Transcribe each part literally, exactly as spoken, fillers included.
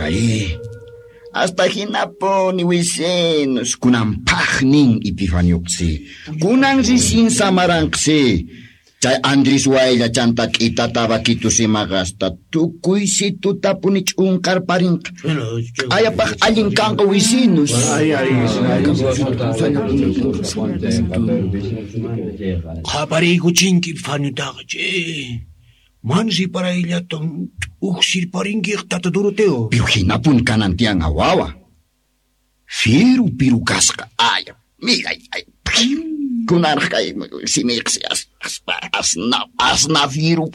Ari. Hasta hinapuni wisinus kunan paqnin Epifaniuqsi. Kunan risin samaranqsi. Chay Andris waylla chanta k'itata vaquitus imaqa hasta tukuy situtapuni ch'unqarparinqa. Ayapaq allin kanqa wisinus. Qapariykuchinki Epifaniutaqa che. Man riparayllatan uqsirparinkiq tata Doroteo. Piru hinapuni kanan tiyan wawa. Firu piru kasqa. Ay, millay ay. Kunaraq kay simiyqsi as, as, asna, asna firu.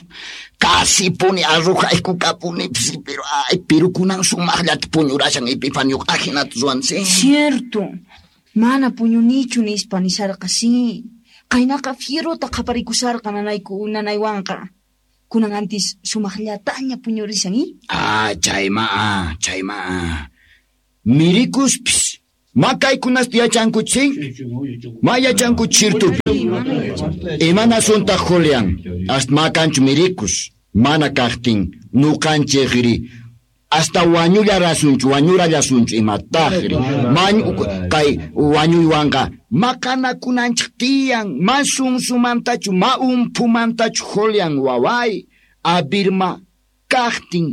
Casi puni arrojayku kapuni pero ay, pero kunan sumaqllata puñurashan Epifanioq ajinata ruwansi. Cierto. Mana puñunichu nispa nisharqa sí. Qaynaqa fierota qhaparikusharqa nanayku nanaywanqa. Kunan antis sumaqllataña puñurishan, i? Ah, chayma, ah, chayma. Ah. Mirikuspis. Makaykunasta yachankuchi? Ma yachankuchi chirtupi. Imanasuntaq Julian? Hasta makanchu mirikus. Mana kaqtin nuqanchikri. Hasta wañullarasunchu, wañurallasunchu imataqri. Mañ kay wañuywanqa maqanakunanchik tiyan, ma sunsumantachu, ma umphumantachu Julian waway. Abirma kaqtin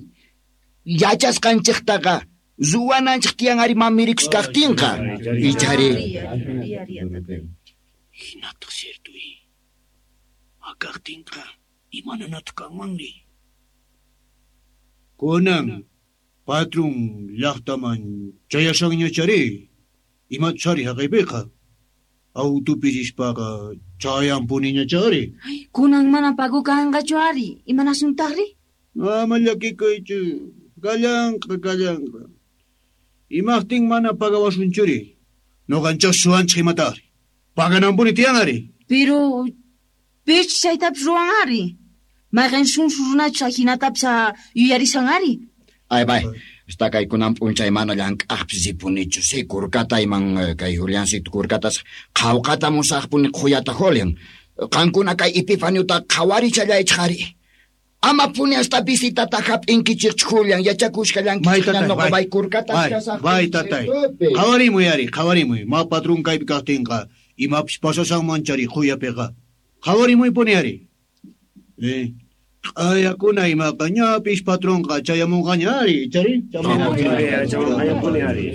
yachasqanchiktaqa ruwananchik tiyan ari ma mirikus kaqtinqa. Ichari. Hinataq cierto i. Ma kaqtinqa imananataq kanmanri. Kunan patrón llaqtaman chayashanñachari. Imatachari haqaypiqa. Autupi rispaqa chayanpuniñachari. Ay, kunan mana pago kanqachu ari. Imanasuntaqri? Ama llakikuychu. Kallanqa, kallanqa. Imaqtin mana pagawasunchuri. Nuqanchik suwanchik imataqri. Pagananpuni tiyan ari. Pero pich chaytapis ruwan ari. Mayqin sunsu runachu ahinatapis yuyarishan ari. Ay, bay. Hasta kay kunan p'unchay mana llank'aqpis ripunichu. Si kurkata iman kay Juliancito kurkatas qhawqata musaqpuni qhuyata Julian. Qankuna kay Epifaniuta qhawarichallaychik ari. Ama puni hasta visitata hap'inkichikchu Julian yachakushkallankichik noqa bay kurkata kasaq. Bay tatay. Qhawarimuy ari, qhawarimuy. Ma patrón kaypi kaqtinqa imapis pasashanmanchari qhuyapiqa. Qhawarimuypuni ari. Eh. Q'ayakuna imaqa ñapis patronqa chayamunqaña ari, chari? Chayamunqaña ari.